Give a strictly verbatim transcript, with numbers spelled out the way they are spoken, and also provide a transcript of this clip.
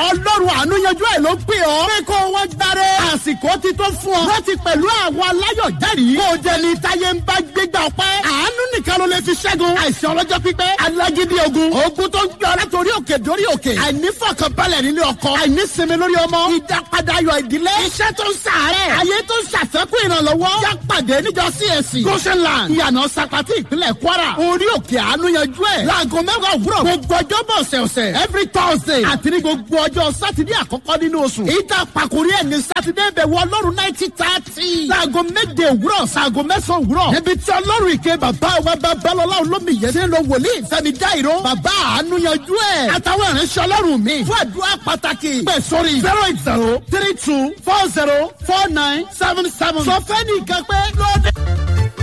Ọlọ́run àánú yanjú ẹ̀ ló pè ọ́. Pé kó wọ́n gbáre. Àsìkò ti tó fún ọ. Láti pẹ̀lú àwọn aláyọ̀ jẹ́rìí. Kó o jẹ ní táyé ń bá gbégbá ọpẹ́. Àánú nìkan ló lè fi ṣẹ́gun. Àìsàn ọlọ́jọ́ pípẹ́. Alágídí ogun. Ogun tó ń gbé ọ látòrí òkè dórí òkè. Àìnífọ̀kànbalẹ̀ nílé ọkọ. Àìnísinmi lórí ọmọ. Ìdápadà ayọ̀ ìdílé. Iṣẹ́ tó ń sàárẹ̀. Ayé tó ń ṣàfẹ́kù ìrànlọ́wọ́. Yá pàdé níjọ C A C. Goshenland. Ìyànà Sapati, ìpínlẹ̀ Kwara. Orí òkè àánú yanjú ẹ̀. Láago mẹ́wàá òwúrọ̀. Gbogbo ọjọ́ bọ̀ ọ̀sẹ̀ọ̀sẹ̀. Every Thursday. Àti ní gbogbo ọjọ́ Sátidé àkọ́kọ́ nínú oṣù. Ìta pàkórí ẹ̀ ní Sátidé bẹ̀wò Ọlọ́run nineteen thirty. Láago méje òwúrọ̀ sáago mẹ́sàn-án òwúrọ̀. Níbi tí Ọlọ́run ìké bàbá wa Babalọ́lá Olómiyẹ ṣe ń lo wòlíì Fẹ́mi Dáìró. Bàbá àánú yanjú ẹ̀. Àtàwọn ìránṣẹ́ Ọlọ́run mi. Fún àdúrà pàtàkì, pè sórí zero eight zero three two four zero four nine seven seven. Sọ fẹ́ nìkan pé lóde.